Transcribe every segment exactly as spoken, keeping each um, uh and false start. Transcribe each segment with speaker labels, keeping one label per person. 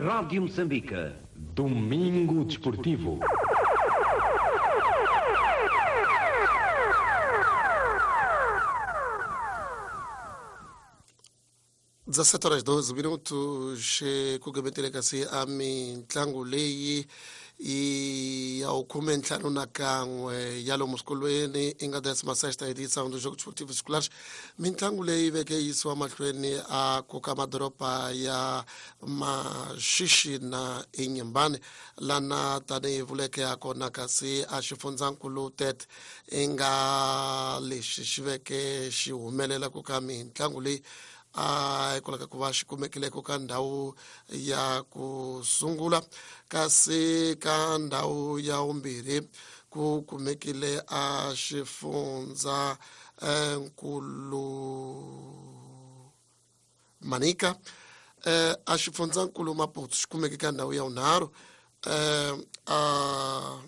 Speaker 1: Rádio Moçambique. Domingo Desportivo.
Speaker 2: dezessete horas doze minutos ku kasi a mitlangu leyi i ya khume ntlhanu na kan'we ya lomu swikolweni i nga décima sexta edição dos Jogos Esportivos Escolares. Mitlangu leyi veke yisiwa mahlweni a koka madoroba ya Maxixi na Inhambane lana tanihi vuleke ya kona kasi a xifundzankulu Tete i nga lexi xi veke xi humelela ku ka mitlangu leyi a hikwalaho ka ku va xi kumekile ka ndhawu ya ku sungula kasi ka ndhawu ya vumbirhi ku kumekile a xifundza nkulu Manica a xifundza nkulu Maputo xi kumeke ka ndhawu ya vunharhu a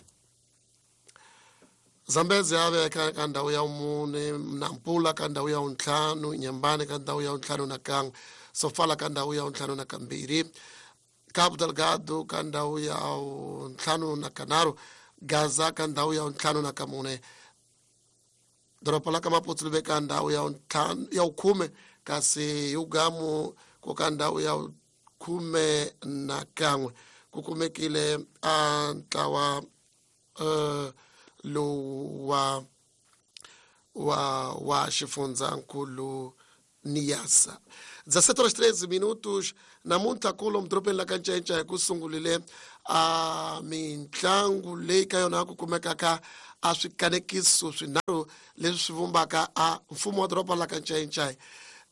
Speaker 2: Zambezi ya veka ka ndhawu ya mune, Nampula ka ndhawu ya ntlhanu, Inhambane ka ndhawu ya ntlhanu na kan'we, Sofala ka ndhawu ya ntlhanu na kambirhi, Cabo Delgado ka ndhawu ya ntlhanu na kanharhu, Gaza ka ndhawu ya ntlhanu na kamune, doroba la ka Maputo li veka ndhawu ya ntlhanu ya khume kasi Yugamu ku ka ndhawu ya khume na kan'we ku kumekile a ntlawa uh, lowu wa wa wa xifundzankulu Niassa. dezessete horas treze minutos namuntlha kulo mudorobeni la ka Ncencce hi ku sungulile a mitlangu leyi ka yona ku kumekaka a swikanekiso swinharhu leswi swi vumbaka a mfumo wa doroba la ka Ncencce.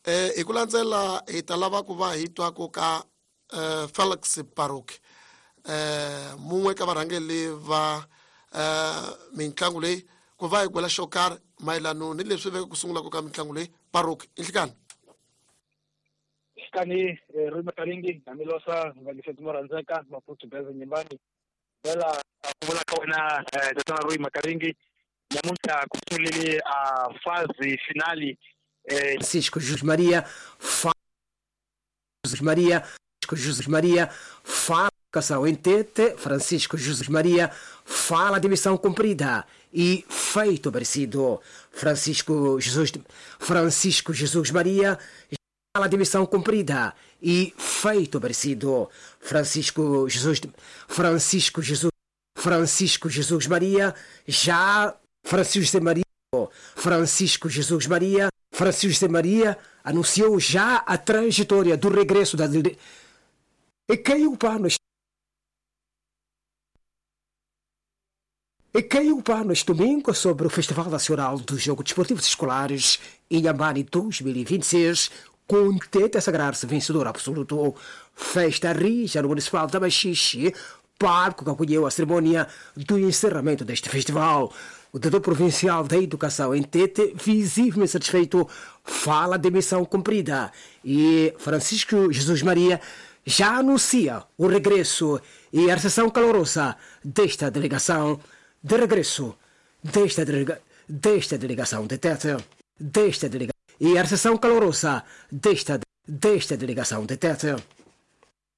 Speaker 2: Eh hi ku landzela hi ta lava ku va hi twa ku ka eh, Felix Paruk eh mun'we ka varhangeri va Uh, mitlangu leyi ku va hi gwela xo karhi mayelano ni leswi veke ku sungula ku ka mitlangu leyi. Paruk inhlikani
Speaker 3: xikani ri makaringi namilosa vangiseti mo rhandzeka Maputo Beze Nyimbani vela ku vula ka wena tatana Rui Makaringi namuntlha ku sungulile a fazi finali.
Speaker 4: Francisco José Maria fa José Maria José Maria fa em Tete, Francisco José Maria fala de missão cumprida e feito merecido. Francisco Jesus, Francisco Jesus Maria fala de missão cumprida e feito merecido. Francisco Jesus, Francisco Jesus, Francisco Jesus Maria já Francisco José Maria, Francisco Jesus Maria, Francisco José Maria anunciou já a trajetória do regresso da e caiu o pano. E caiu o pano este domingo sobre o Festival Nacional dos Jogos Desportivos Escolares Inhambane dois mil e vinte e seis, com Tete a sagrar-se vencedor absoluto. Festa rija no Municipal da Maxixe, parco que acolheu a cerimônia do encerramento deste festival. O diretor provincial da Educação em Tete, visivelmente satisfeito, fala de missão cumprida. E Francisco Jesus Maria já anuncia o regresso e a recepção calorosa desta delegação de regresso desta, delega, desta delegação de Tete, desta delegação e a recepção calorosa desta, desta delegação de Tete.